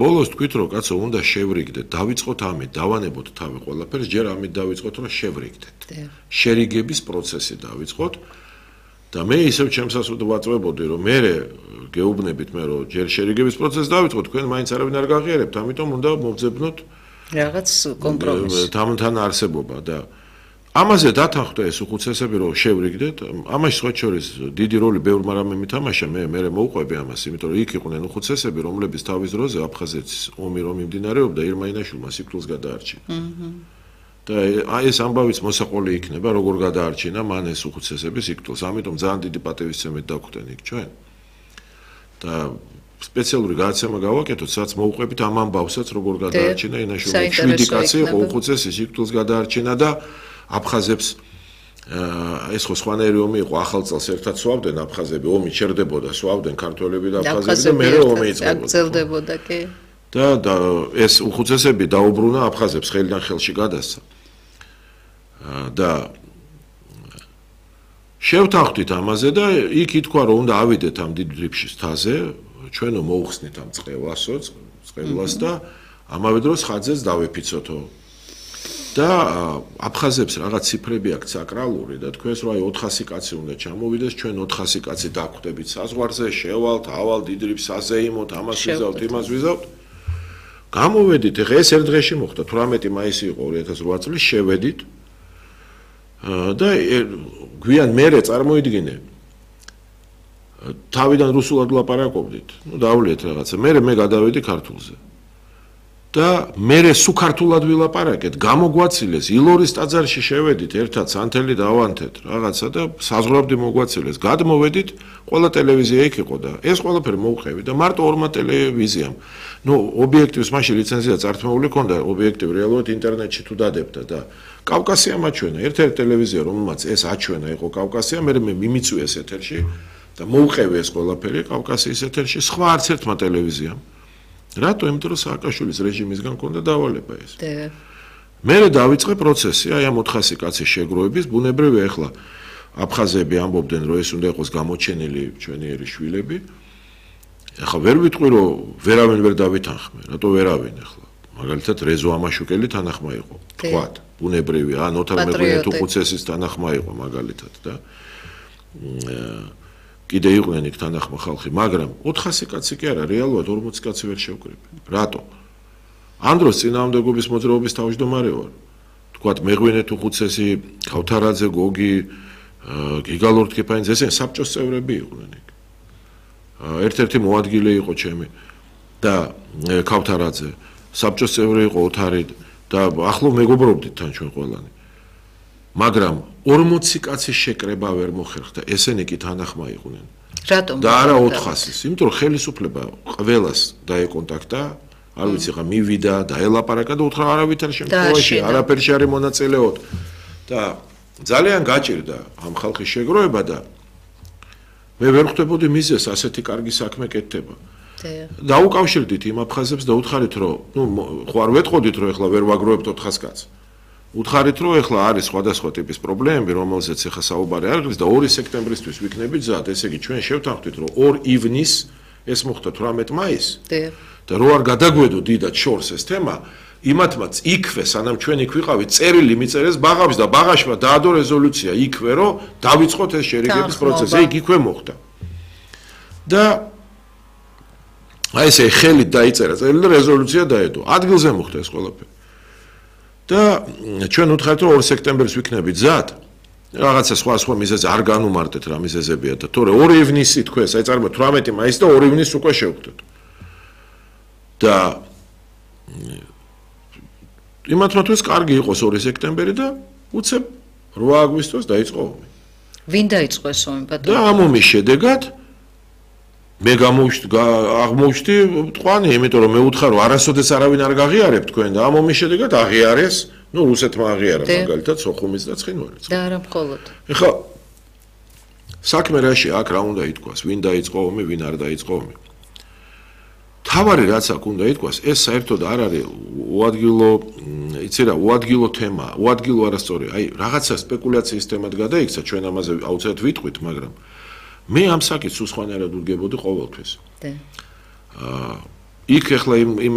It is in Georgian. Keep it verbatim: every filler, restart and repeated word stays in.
ბოლოს თქვით რომ კაცო უნდა შევრიგდეთ, დავიწყოთ ამით, დავანებოთ თავი ყველაფერს, ჯერ ამით დავიწყოთ რომ შევრიგდეთ. შერიგების პროცესი დავიწყოთ და მე ისევ ჩემსაც ვაწვევებოდი რომ მე გეუბნებით მე რომ ჯერ შერიგების პროცესს დავიწყოთ, თქვენ მაინც არავინ არ გაღიარებთ, ამიტომ უნდა მოვძებნოთ რაღაც კომპრომისი. თან არსებობა და ამაზე დათანხმდა ეს უხუცესები რომ შევრიგდეთ, ამაში სხვა შორის დიდი როლი ბევრმა რამე მითამაშა, მე მე მოვყვები ამას, იმიტომ რომ იქ იყვნენ უხუცესები, რომლების თავის დროზე აფხაზეთის ომი რომ მიმდინარეობდა, ირმა-ინაშვილმა სიკვდილს გადაარჩინა. და ეს ამბავიც მოსაყოლი იქნება, როგორ გადაარჩინა მან ეს უხუცესები სიკვდილს, ამიტომ ძალიან დიდი პატივისცემით დაგვხდენ იქ ჩვენ. და სპეციალური გადაცემა გავაკეთოთ, სადაც მოვყვებით ამ ამბავსაც, როგორ გადაარჩინა ინაშვილმა. შვიდი კაცი იყო უხუცესი სიკვდილს გადაარჩინა და აფხაზებს ეს ხო სხვანაირი ომი იყო, ახალ წელს ერთად სვავდნენ აფხაზები, ომი ჩერდებოდა, სვავდნენ ქართველები და აფხაზები და მერე ომი იწყებოდა. და და ეს უხუცესები დაუბრუნა აფხაზებს, ხელიდან ხელში გადასცა. და შევთანხმდით ამაზე და იქ ითქვა რომ უნდა ავიდეთ ამ დიდ დრიფშის თაზე, ჩვენო მოუხსნით ამ წყევასო, წყევლას და ამავე დროს ხაძეს დავეფიცოთო. და აფხაზებს რაღაც ციფრები აქვს საკრალური და თქვენს რომ აი ოთხასი კაცი უნდა ჩამოვიდეს, ჩვენ ოთხასი კაცი დაგვხვდებით საზღვარზე, შევალთ, ავალ დიდ დრიფს აზეიმოთ, ამას ვიზავთ, იმას ვიზავთ. გამოვედით, ეხა ეს ერთ დღეში მოხდა, თვრამეტი მაისი იყო ორი ათას რვა წლის, შევედით. და გვიან მერე წარმოიდგინე თავიდან რუსულად ვლაპარაკობდით, ნუ დავლიეთ რაღაცა, მერე მე გადავედი ქართულზე. და მერე სულ ქართულად ვილაპარაკეთ, გამოგვაცილეს, ილორის ტაძარში შევედით, ერთად სანთელი დავანთეთ, რაღაცა და საზღვრაბდი მოგვაცილეს, გადმოვედით, ყველა ტელევიზია იქ იყო და ეს ყველაფერი მოვყევი და მარტო ორმა ტელევიზიამ. ნუ ობიექტივს მაშინ ლიცენზია წართმეული ჰქონდა, ობიექტივი რეალურად ინტერნეტში თუ დადებდა და კავკასია მაჩვენა, ერთ-ერთი ტელევიზია, რომელმაც ეს აჩვენა იყო კავკასია, მე მე მიმიწვიეს ეთერში და მოვყევი ეს ყველაფერი კავკასიის ეთერში, სხვა არც ერთმა ტელევიზიამ. რატო? იმიტომ რომ სააკაშვილის რეჟიმისგან ჰქონდა დავალება ეს. მე დავიწყე პროცესი, აი ამ ოთხასი კაცის შეგროვების, ბუნებრივია ახლა აფხაზები ამბობდნენ რომ ეს უნდა იყოს გამოჩენილი ჩვენიერი შვილები. ახლა ვერ ვიტყვი რომ ვერავინ ვერ დავითანხმე, რატო ვერავინ ახლა? მაგალითად რეზო ამაშუკელი თანახმა იყო, თქვათ, ბუნებრივია, ან ოთარ მეღვინე თუხუცესის თანახმა იყო მაგალითად და კიდე იყვნენ იქ თანახმა ხალხი, მაგრამ ოთხასი კაცი კი არა, რეალურად ორმოცი კაცი ვერ შევკრიბე. რატო? ამ დროს წინააღმდეგობის მოძრაობის თავმჯდომარე ვარ. თქვათ მეღვინე თუხუცესი, ქავთარაძე, გოგი, გიგა ლორთქიფანიძე, ესენი საბჭოს წევრები იყვნენ იქ. ერთ-ერთი მოადგილე იყო ჩემი და ქავთარაძე, საბჭოს წევრი იყო ოთარი და ახლო მეგობრობდით თან ჩვენ ყველანი. მაგრამ ორმოცი კაცის შეკრება ვერ მოხერხდა, ესენი კი თანახმა იყვნენ. რატომ? და არა ოთხასის, იმიტომ რომ ხელისუფლება ყველას დაეკონტაქტა, არ ვიცი ხა მივიდა, დაელაპარაკა და უთხრა არავითარ შემთხვევაში, არაფერში არ მონაწილეობთ. და ძალიან გაჭირდა ამ ხალხის შეგროვება და მე ვერ ხვდებოდი მიზეს ასეთი კარგი საქმე კეთდება. დაუკავშირდით იმ აფხაზებს და უთხარით რომ, ნუ ხო არ ვეტყოდით რომ ეხლა ვერ ვაგროვებთ ოთხას კაცს. უთხარით რომ ეხლა არის სხვადასხვა ტიპის პრობლემები, რომელზეც ეხლა საუბარი არ არის და ორი სექტემბრისთვის ვიქნებით ზად, ესე იგი ჩვენ შევთანხმდით რომ ორი ივნის ეს მოხდა თვრამეტი მაისი. და რო არ გადაგვედო დიდად შორს ეს თემა, იმათმაც იქვე, სანამ ჩვენ იქ ვიყავით, წერილი მიწერეს ბაღავს და ბაღაშმა დაადო რეზოლუცია იქვე, რომ დავიწყოთ ეს შერიგების პროცესი, იქ იქვე მოხდა. და აი ესე ხელით დაიწერა წერილი და რეზოლუცია დაედო. ადგილზე მოხდა ეს ყველაფერი. და ჩვენ უთხარით რომ ორი სექტემბერს ვიქნებით ზად, რაღაცა სხვა სხვა მიზეზი არ განუმარტეთ რა მიზეზებია და თორე ორი ივნისი თქვენს, აი წარმოიდგინეთ თვრამეტი მაისი და ორი ივნისი უკვე შევხვდეთ. და იმათმა თვითონ კარგი იყოს ორი სექტემბერი და უცებ რვა აგვისტოს დაიწყო ომი. ვინ დაიწყო ეს ომი ბატონო? და ამ ომის შედეგად მე აღმოჩნდი მტყვანი, იმიტომ რომ მე ვუთხარ რომ არასოდეს არავინ არ გაღიარებ თქვენ და ამ ომის შედეგად აღიარეს, ნუ რუსეთმა აღიარა მაგალითად სოხუმის და ცხინვალის. და არა მხოლოდ. ეხლა საქმე რაში აქ რა უნდა ითქვას, ვინ დაიწყო ომი, ვინ არ დაიწყო ომი. თავარი რაც აქ უნდა ითქვას, ეს საერთოდ არ არის უადგილო, იცი რა, უადგილო თემა, უადგილო არასწორი, აი რაღაცა სპეკულაციის თემად გადაიქცა, ჩვენ ამაზე აუცილებლად ვიტყვით, მაგრამ მე ამ საკითხს სულ სხვანაირად ვდგებოდი ყოველთვის. და აა იქ ეხლა იმ